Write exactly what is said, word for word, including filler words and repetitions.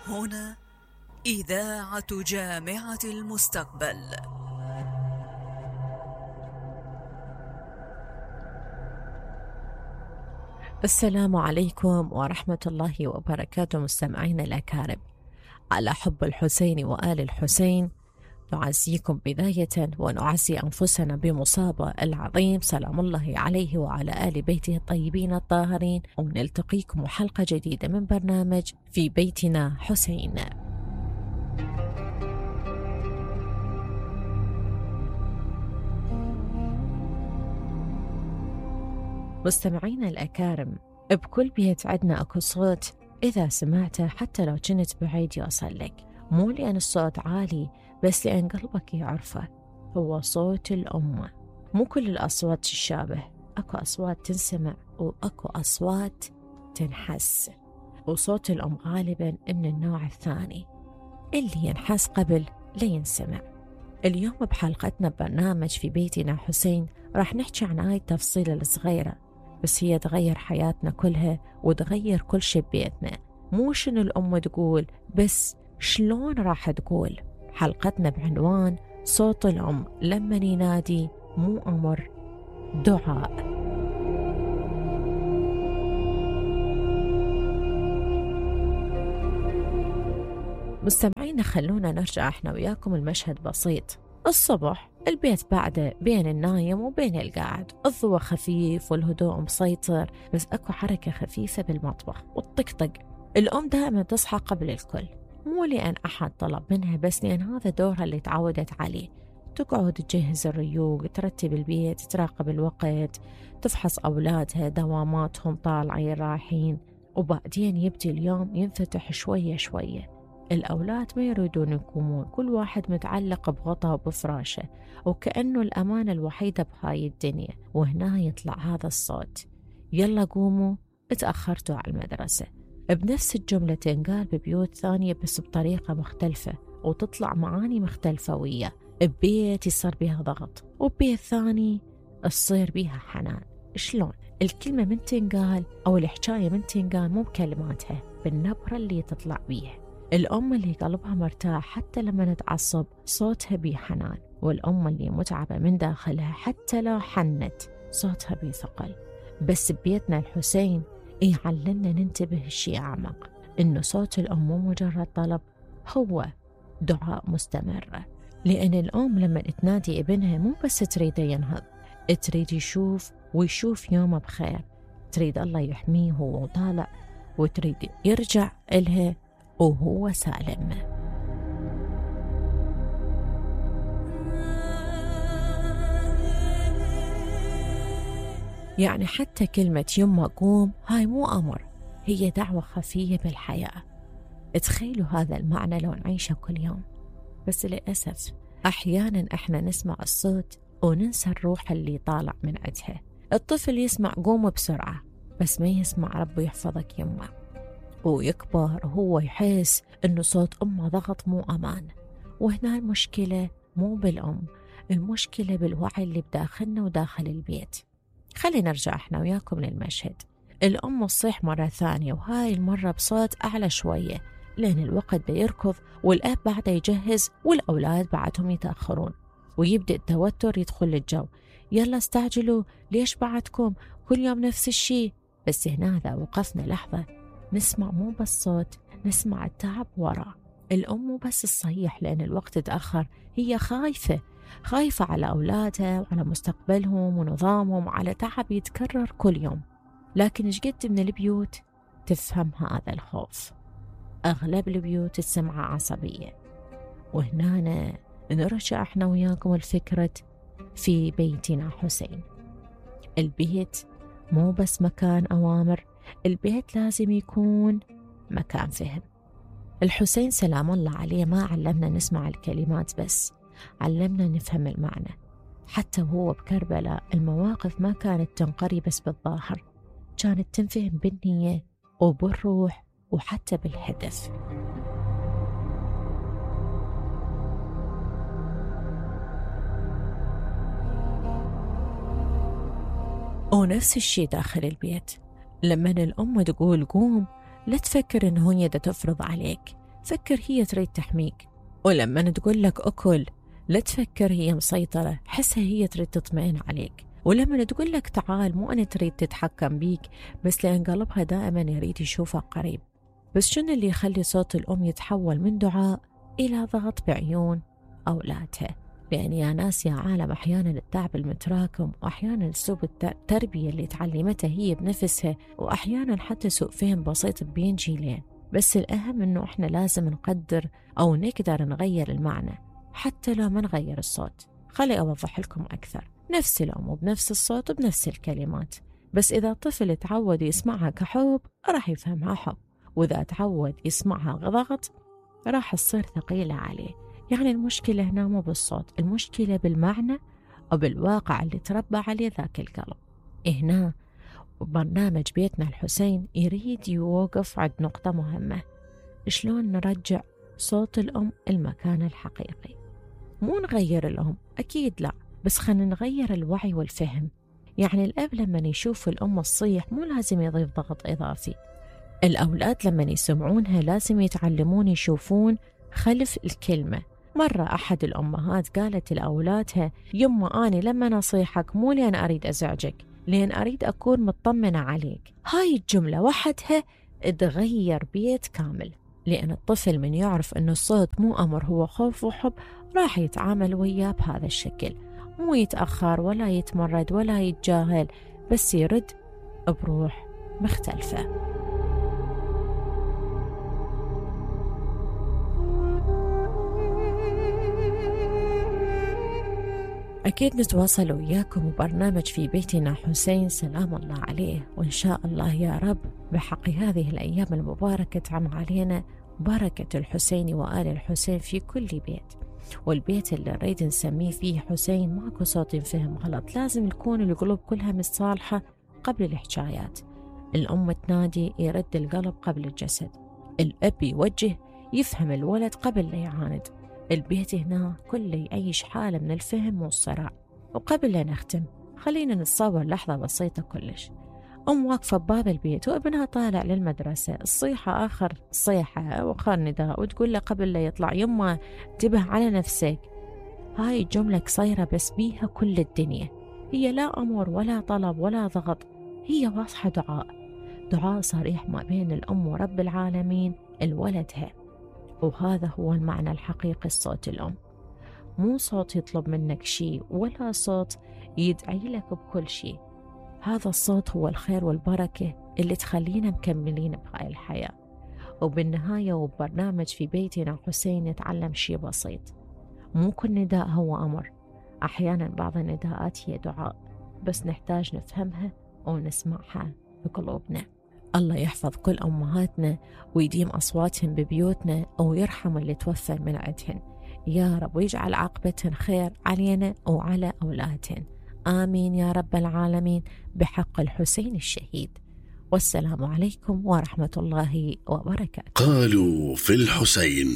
هنا إذاعة جامعة المستقبل. السلام عليكم ورحمة الله وبركاته مستمعينا الأكارم. على حب الحسين وآل الحسين نعزيكم بداية ونعزي أنفسنا بمصابة العظيم سلام الله عليه وعلى آل بيته الطيبين الطاهرين، ونلتقيكم حلقة جديدة من برنامج في بيتنا حسين. مستمعينا الأكارم، بكل بيت عدنا أكو صوت إذا سمعته حتى لو كنت بعيد يوصل لك، مو لأن الصوت عالي بس لأن قلبك يعرفه، هو صوت الأم. مو كل الأصوات تشابه، أكو أصوات تنسمع وأكو أصوات تنحس، وصوت الأم غالبا من النوع الثاني اللي ينحس قبل لا ينسمع. اليوم بحلقتنا ببرنامج في بيتنا حسين راح نحكي عن هاي التفصيلة الصغيرة، بس هي تغير حياتنا كلها وتغير كل شي ببيتنا. مو شنو الأم تقول، بس شلون راح تقول. حلقتنا بعنوان صوت الأم لما ينادي مو أمر، دعاء. مستمعينا خلونا نرجع احنا وياكم المشهد بسيط. الصبح البيت بعده بين النايم وبين القاعد، الضوء خفيف والهدوء مسيطر، بس اكو حركة خفيفة بالمطبخ والطقطق. الأم دائما تصحى قبل الكل، مو لأن أحد طلب منها، بس لأن هذا دورها اللي تعودت عليه. تقعد تجهز الريوق، ترتب البيت، تراقب الوقت، تفحص أولادها دواماتهم طالعين رايحين، وبعدين يبدي اليوم ينفتح شوية شوية. الأولاد ما يريدون يقومون، كل واحد متعلق بغطاء وبفراشه وكأنه الأمانة الوحيدة بهاي الدنيا. وهنا يطلع هذا الصوت، يلا قوموا اتأخرتوا على المدرسة. بنفس الجملة تنقال ببيوت ثانية بس بطريقة مختلفة وتطلع معاني مختلفة وياه. ببيت يصير بيها ضغط وببيت ثاني تصير بيها حنان. شلون؟ الكلمة من تنقال أو الحكاية من تنقال مو بكلماتها، بالنبرة اللي تطلع بيها. الأم اللي قلبها مرتاح حتى لما نتعصب صوتها بيه حنان، والأم اللي متعبة من داخلها حتى لو حنت صوتها بيه ثقل. بس ببيتنا الحسين يعلمنا ننتبه الشيء أعمق، إنه صوت الأم مو مجرد طلب، هو دعاء مستمر. لأن الأم لما تنادي ابنها مو بس تريده ينهض، تريد يشوف ويشوف يومه بخير، تريد الله يحميه وهو طالع، وتريد يرجع إلها وهو سالم. يعني حتى كلمة يما قوم هاي مو أمر، هي دعوة خفية بالحياة. تخيلوا هذا المعنى لو نعيشه كل يوم. بس للأسف أحيانا إحنا نسمع الصوت وننسى الروح اللي طالع من عندها. الطفل يسمع قوم بسرعة بس ما يسمع ربي يحفظك يما، ويكبر وهو يحس إنه صوت أمه ضغط مو أمان. وهنا المشكلة مو بالأم، المشكلة بالوعي اللي بداخلنا وداخل البيت. خلينا نرجع احنا وياكم للمشهد. الأم تصيح مرة ثانية، وهاي المرة بصوت أعلى شوية لأن الوقت بيركض، والأب بعده يجهز والأولاد بعدهم يتأخرون، ويبدأ التوتر يدخل الجو. يلا استعجلوا، ليش بعدكم كل يوم نفس الشي؟ بس هنا إذا وقفنا لحظة نسمع مو بس صوت، نسمع التعب وراه. الأم مو بس الصيح لأن الوقت تأخر، هي خايفة خايفة على أولادها وعلى مستقبلهم ونظامهم، على تعب يتكرر كل يوم. لكن إيش قد من البيوت تفهم هذا الخوف؟ أغلب البيوت تسمع عصبية. وهنا نرجع احنا وياكم الفكرة في بيتنا حسين. البيت مو بس مكان أوامر، البيت لازم يكون مكان فهم. الحسين سلام الله عليه ما علمنا نسمع الكلمات بس، علمنا نفهم المعنى. حتى وهو بكربلاء المواقف ما كانت تنقري بس بالظاهر، كانت تنفهم بالنية وبالروح وحتى بالهدف. ونفس الشي داخل البيت، لما الأم تقول قوم لا تفكر إنه هي دا تفرض عليك، فكر هي تريد تحميك، ولما تقول لك أكل لا تفكر هي مسيطرة، حسها هي تريد تطمئن عليك. ولما تقول لك تعال مو أنا تريد تتحكم بيك، بس لأن قلبها دائما يريد يشوفك قريب. بس شنو اللي يخلي صوت الأم يتحول من دعاء إلى ضغط بعيون أولادها؟ لأن يا ناس يا عالم أحيانا التعب المتراكم، وأحيانا أسلوب التربية اللي تعلمتها هي بنفسها، وأحيانا حتى سوء فهم بسيط بين جيلين. بس الأهم إنه إحنا لازم نقدر أو نقدر نغير المعنى حتى لو ما نغير الصوت. خلي أوضح لكم أكثر. نفس الأم وبنفس الصوت وبنفس الكلمات، بس إذا الطفل تعود يسمعها كحب راح يفهمها حب، وإذا تعود يسمعها ضغط راح تصير ثقيلة عليه. يعني المشكلة هنا مو بالصوت، المشكلة بالمعنى أو بالواقع اللي تربى عليه ذاك القلب. هنا برنامج بيتنا الحسين يريد يوقف عند نقطة مهمة: شلون نرجع صوت الأم المكان الحقيقي. مو نغير الأم، أكيد لا، بس خلينا نغير الوعي والفهم. يعني الأب لما يشوف الأم تصيح مو لازم يضيف ضغط إضافي. الأولاد لما يسمعونها لازم يتعلمون يشوفون خلف الكلمة. مرة أحد الأمهات قالت لأولادها: يما أنا لما نصيحك مو لأن أريد أزعجك، لأن أريد أكون مطمنة عليك. هاي الجملة وحدها تغير بيت كامل، لأن الطفل من يعرف أن الصوت مو أمر، هو خوف وحب، راح يتعامل وياه بهذا الشكل، مو يتأخر ولا يتمرد ولا يتجاهل، بس يرد بروح مختلفة. أكيد نتواصل وياكم وبرنامج في بيتنا حسين سلام الله عليه، وإن شاء الله يا رب بحق هذه الأيام المباركة تعم علينا بركة الحسين وآل الحسين في كل بيت. والبيت اللي نريد نسميه فيه حسين ماكو صوت ينفهم غلط، لازم يكون القلوب كلها متصالحة قبل الحكايات. الأم تنادي يرد القلب قبل الجسد، الأب يوجه يفهم الولد قبل لا يعاند. البيت هنا كله يعيش حالة من الفهم والصراع. وقبل لا نختم خلينا نتصور لحظة بسيطة كلش. أم واقفة بباب البيت وابنها طالع للمدرسة، الصيحة آخر صيحة وآخر نداء، وتقول له قبل لا يطلع: يما انتبه على نفسك. هاي الجملة قصيرة بس بيها كل الدنيا. هي لا أمر ولا طلب ولا ضغط، هي واضحة دعاء، دعاء صريح ما بين الأم ورب العالمين لولدها. وهذا هو المعنى الحقيقي لصوت الأم، مو صوت يطلب منك شيء ولا صوت يدعي لك بكل شيء. هذا الصوت هو الخير والبركة اللي تخلينا مكملين بهاي الحياة. وبالنهاية وبرنامج في بيتنا حسين نتعلم شيء بسيط: مو كل نداء هو أمر، أحيانا بعض النداءات هي دعاء، بس نحتاج نفهمها ونسمعها بقلوبنا. الله يحفظ كل أمهاتنا ويديم أصواتهم ببيوتنا، ويرحم اللي توفى من عندهن يا رب، ويجعل عاقبتهن خير علينا وعلى أولادهن، آمين يا رب العالمين، بحق الحسين الشهيد. والسلام عليكم ورحمة الله وبركاته. قالوا في الحسين.